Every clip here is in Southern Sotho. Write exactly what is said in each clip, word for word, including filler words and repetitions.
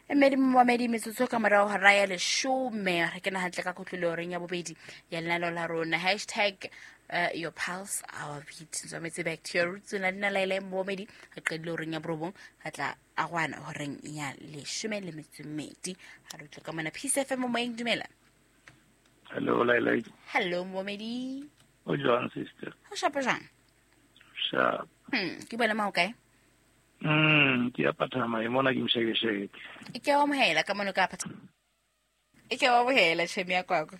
Mmedi momamedi metsotso ka morao hora ya leshome re kena hantle ka kotlolo horeng ya bobedi ya lenaneo la rona hashtag uh, your pulse our beat tswametse back to your roots na dina laele momamedi re qedile horeng ya borobong re tla arwana horeng ya leshome le metso e mmedi ha re utlwe ka mona Peace F M moyeng dumela. Hello Laila. Hello momamedi. O jwang sister? Ho shapa jwang? Sharp. Hmm, ke bona ma o kae? Mm, ke ya Phathama e mona ke mshekesheke. E ke wa amohela ka mono ka Phathama. E ke wa amohela tjhemi ya kwakwa.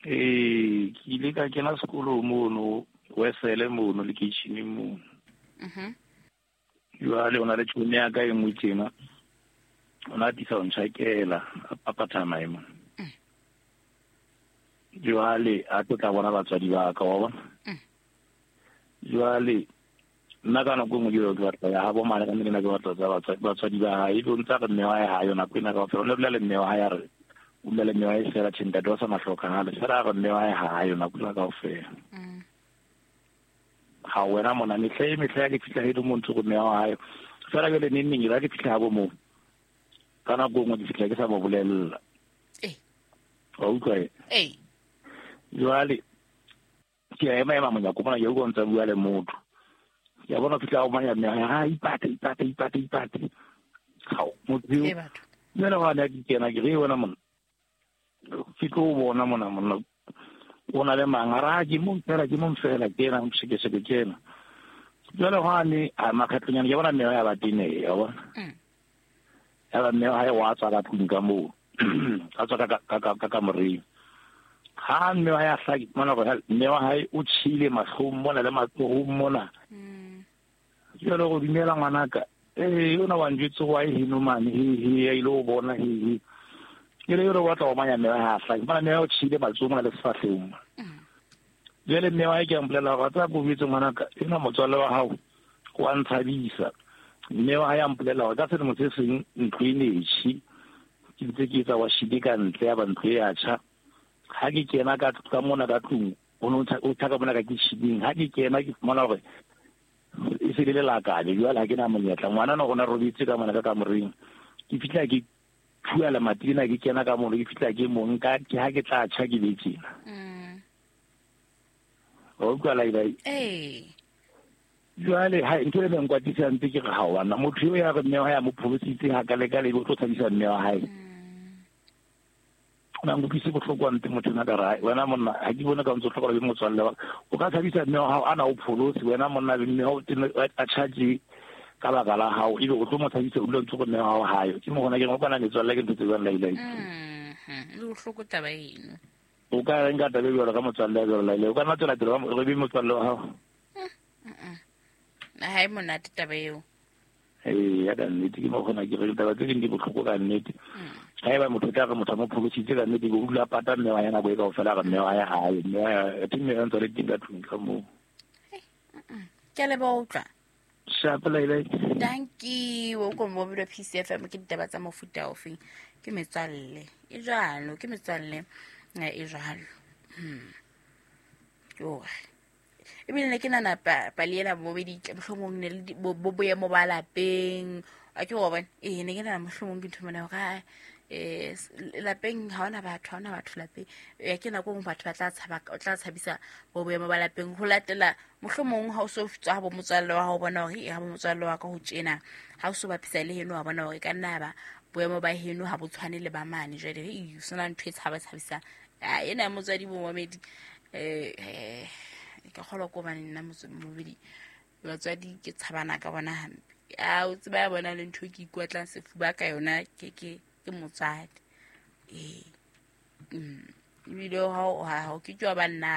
Eh, ke ile ka kena sekolo mono, Wesele mono lekeisheneng mono. Mhm. Jwale o na le tjhemi ya ka e nngwe tjena. O na atisa ho ntjhakela a Phathama e mona. Mm. Jwale a tlo tla bona batswadi ba ka wa bona. Mm. Jwale nna ka nako e nngwe ke ke batla ya habo mane ka nna ke batla tsa batswadi batswadi ba hae e ntse re mme wa hae ha yona nako ena kaofela o ne dula le mme wa hae a re o dula le mme wa hae fela tjhe ntate wa sa mahlokahale fela a re mme wa hae ha yona nako ena kaofela. Mm. Ha wena mona mehla e mehla ya ke fihla he mo ntse go mme wa hae fela jwale neng neng ke fihla habo moo ka nako e nngwe ke fihla ke sa mo bolella. Eh. Wa utlwa e? Eh. Jwale ke a ema ema monyako mona ke utlwa ntse bua le motho. Ya bona fihla o manya mme ha ipate ipate ipate ipate. Ha motho E batho. Jwale wa ne ke kena ke re wena mona. Ke tlo bona mona mona. O na le mang a ra ke mong fela ke mong fela ke ena mshekesheke ke ena. Jwale ha ne a makgatlonyana ke bona mme ya ba tene ya bona. Mm. Ya ba mme ha wa tswa ka tlung ka moo. A tswa ka ka ka ka kamoreng. Ha mme wa ya hlaki mona go mme wa hae o tshile mahlong mona le matsohong mona. Mm. Jwale go dumela ngwanaka eh yona wa njwetse wa e hino mane he he ya ile o bona he he ke le yona wa tla o manya mme wa ha hlaki mona mme o tshile matsohong mona le sefahlehong. Jwale mme wa hae ke a mpolela hore tsa ko bitswe ngwanaka ena motswalle wa hao wa ntshabisa. Mme wa hae a mpolela hore ka selemo se seng ntlo e ne e tjhe ke ntse ke etsa wa shile ka ntle ya ba ntlo e ya tjha. Ha ke kena ka ka mona ka tlung o no o tshaka mona ka kitcheneng ha ke kena ke fumana hore e se le lelakabe jwale ha ke na monyetla ngwana no rona robetse ka mona ka kamoreng ke fihla ke thua lemati lena ke kena ka mono ke fihla ke mo nka ke ha ke tla tjha ke be tjena. Mm. O utlwa Laila? Eh. Jwale ha ntho e neng kwatisang ntse ke re ha wana motho eo ya re mme wa hae a mo pholositse ha ka le ka le o tlo tshabisa mme wa hae. Na nkutlwise bohloko wa nte motho ena ka re wena monna ha ke bone ka ntse o hloka le motswalle wa o ka tshabisa mme wa hao ana o pholose wena monna le mme wa a charge ka baka la hao ebe o tlo mo tshabisa o dula ntse go mme wa hao hayo ke mo gona ke go kana metswalle ke ntho tse jwang Laila. Mhm. Le bohloko taba eno. O ka reng ka taba e jwalo ka motswalle ya jwalo Laila o ka nna tswela pele re be motswalle wa hao. Mhm. Ha e monate taba eo. Eh ya ka nnete ke mo gona ke re taba tse ding di bohloko ka nnete. Ha eba motho tla re motho mo pholositse ka nnete o dula pata mme wa yena bo e kaofela re mme wa ya hae mme wa ya teng mme ntse le teng ka tlung ka moo. Ke a leboha utlwa. Sharp Laila. Thank you. O ko mobile P C F M ke ditaba tsa mofuta ofeng ke metswalle e jwalo ke metswalle e jwalo. Hmm. Yo. Ebile ne ke nana pali ena bobedi mohlomong ne le bo boemo ba lapeng a ke wa bona eh ne ke nana mohlomong ke ntho mona hore eh lapeng ha ona batho ha ona batho lapeng ya ke nako ngwe batho ba tla tshaba o tla tshabisa bo boemo ba lapeng ho latela mohlomong ha o so tswa ha bo motswalle wa hao bona hore e ha bo motswalle wa ka ho tjena ha o so bapisa le heno wa bona hore ka nna ba boemo ba heno ha bo tshwane le ba mane jwale e sona ntho e tshaba tshabisa a ena ya motswadi bo momedi eh ka kgolwa ko bane nna mobedi batswadi ke tshabana ka bona hampe a o tseba ya bona le ntho ke ikwatlang sefuba ka yona ke ke ke motswadi eh ebile ha ha ke tswa ba nna